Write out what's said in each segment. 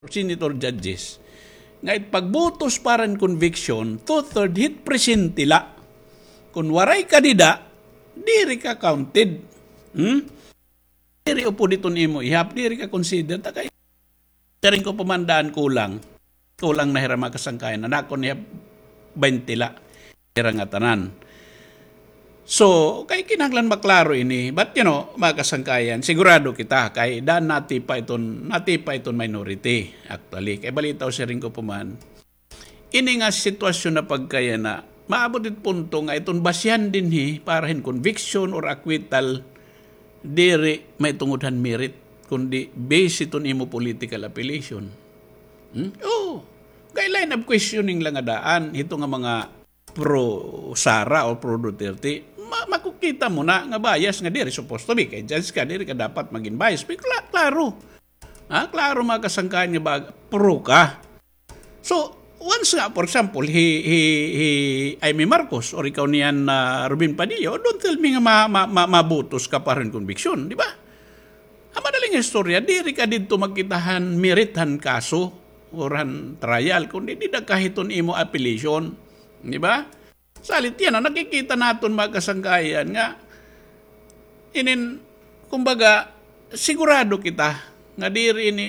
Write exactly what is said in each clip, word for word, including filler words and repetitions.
senator, judges, nga it pagbutos para hin conviction, two-third hit presente la. Kon waray ka dida, diri ka counted. Hmm? Diri upod iton imo ihap, diri ka consider. Ta kay siring ko pa man daan kulang. Kulang na hira, mga kasangkayan. An akon ihap baynte la. Hira ngatanan. So, kay kinahanglan maklaro ini. But, you know, mga kasangkayan, sigurado kita kay daan natipa iton, natipa iton minority, actually. Kay balitaw, siring ko pa man, ini nga sitwasyon na pagkayana, maabot it punto nga iton basihan dinhi para hin conviction or acquittal, diri mahitungod han merit, kundi base iton imo political affiliation. Hmm? Oo. Kay line of questioning la nga daan, hito nga mga pro Sara o pro Duterte, ma-, makukita mo na nga bias nga diri supposed to be. Kay judge ka, diri ka dapat magin bias. Pero kla-, klaro. Ha? Klaro, mga kasangkayan, nga ba, pro ka. So, once nga, for example, hi, hi, hi Imee Marcos or ikaw niyan, ah, Robin Padilla, don't tell me nga ma-, ma-, ma-, mabutos ka para hin conviction, di ba? An madaling istorya, diri ka didto magkita han merit han kaso or han trial, kundi dida ka hiton imo appellation, di ba? Salit yana, nakikita naton, mga kasangkayan, nga inin, kumbaga, sigurado kita nga diri ini,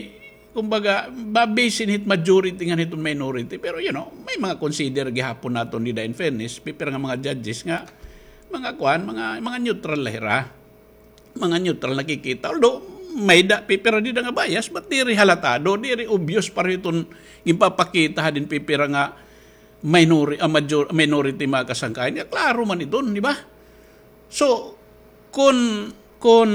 kumbaga, ba-base ini hit majority ngan hiton minority. Pero, you know, may mga consider gihapon naton dida, in fairness, pipira nga mga judges nga mga kuan, mga, mga neutral la hira. Mga neutral nakikita. Although, may-ada pipira dida nga bias, but diri halatado, diri obvious para hiton ginpapakita hadin pipira nga minori-, ah, major-, minority, mga kasangkayan. Nga klaro man iton, di ba? So, kon, kon,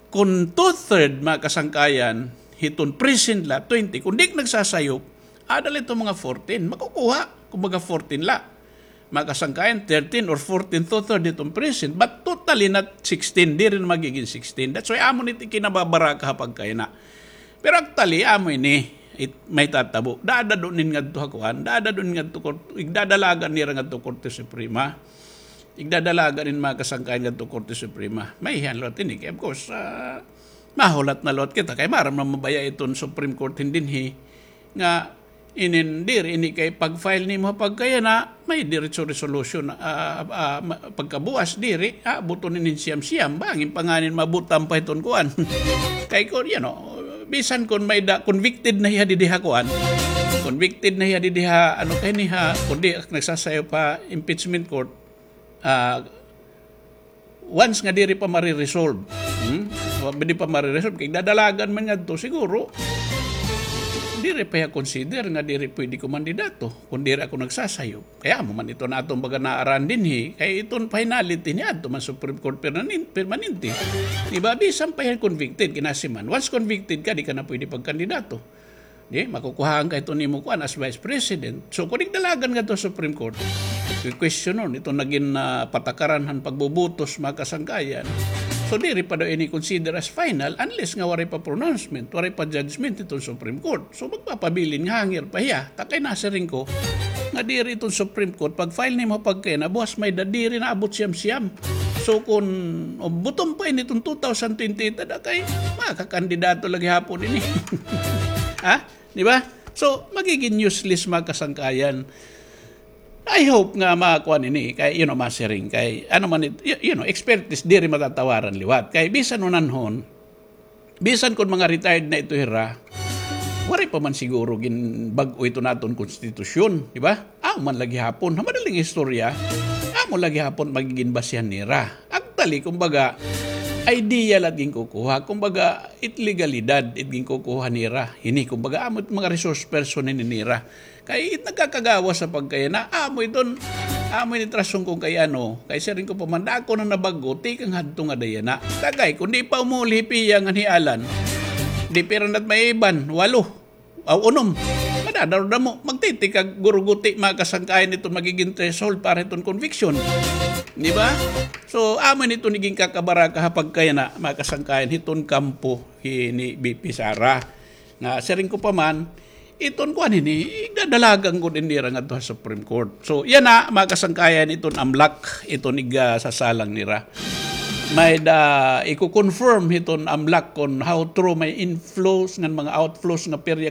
kon two-third, mga kasangkayan, hiton present la, twenty, kon di nagsasayop, ada la iton mga fourteen, makukuha, kumbaga fourteen la. Mga kasangkayan, thirteen or fourteen, two-third hiton present, but totally not sixteen, diri na magigin sixteen. That's why amo ini it kinababaraka ha pagkayana. Pero actually, amo ini, it, may tatabo. Dadad-on ini ngadto ha kuan, dadad-on ini ngadto kort-, igdadalagan nira ngadto Korte Suprema. Igdadalagan ini, mga kasangkayan, ngadto Korte Suprema. Maiha na liwat ini. Kay, of course, ah, mahulat na liwat kita. Kay maaram na mabaya iton Supreme Court hin dinhi nga inin diri ini kay pag-file nimo ha pagkayana, may diretso resolution, ah, ah, ma-, pagkabuas diri, ah, abuton ini hin siyam-siyam, bangin pa ngani maabot pa hiton kuan. Kay kon, you know, bisan kon may-ada, convicted na hiya didi ha kuan, convicted na hiya didi ha, ano kay ni ha, kundi nagsasayaw pa impeachment court, ah, once nga diri pa mare-resolve. Hmm? Wa-, diri pa mare-resolve. Kay dadalagan man ngadto, siguro, diri pa hiya consider nga diri pwede ko mandidato kung diri ako nagsasayo. Kay amo man iton aton baga naaran dinhi, kay iton finality niadto man Supreme Court permanen-, permanente. Di ba? Bisan pa hiya convicted, kinasiman. Once convicted ka, di ka na pwede pagkandidato. Di, makukuhaan ka hiton imo kuan as vice president. So, kon igdalagan ngadto Supreme Court, kwe-questionon iton nagin, ah, patakaran han pagbubutos, mga kasangkayan. So, diri pa daw ini consider as final unless nga waray pa pronouncement, waray pa judgment hiton Supreme Court. So, magpapabilin nga hangir pa hiya. Ta kay nasiring ko nga diri iton Supreme Court, pag-file nimo pagkayana, buwas may-ada diri naabot siyam-siyam. So, kon abuton pa ini iton two thousand twenty-eight, ada kay makakandidato la gihapon ini. Ha? Di ba? So, magigin useless, mga kasangkayan. I hope nga makuan ini kay, you know, masiring kay, ano man it-, y-, you know, expertise diri matatawaran liwat. Kay bisan unanhon, bisan kon mga retired na ito hira, waray pa man siguro ginbag-o iton aton konstitusyon, di ba? Amo man la gihapon, ha madaling istorya, amo la gihapon magigin basihan nira. Actually, kumbaga, idea la it ginkukuha. Kumbaga, it legalidad it ginkukuha nira. Ini, kumbaga, amo it mga resource person ini nira. Kay it nagkakagawas ha pagkayana, amo iton, amo ini it rason kon kay ano, kay siring ko pa man, dako na nabag-o tikang hadto ngada yana. Ta kay, kon di pa umuli hi Pia ngan hi Alan, di pira na it may iban, walo. Aw, unom. Madadaro-damo, magtitikag guruguti, mga kasangkayan, iton magigin threshold para iton conviction. Di ba? So, amo ini iton ginkakabaraka ha pagkayana, mga kasangkayan, hiton kampo hi, ni V P Sara. Nga, siring ko pa man, iton kuan ini, igdadalagan gud ini nira ngadto ha Supreme Court. So, yana, mga kasangkayan, iton amlak, iton iga-, sasalang nira. May-ada iko-confirm hiton AMLAC kon how true may inflows ngan mga outflows nga perya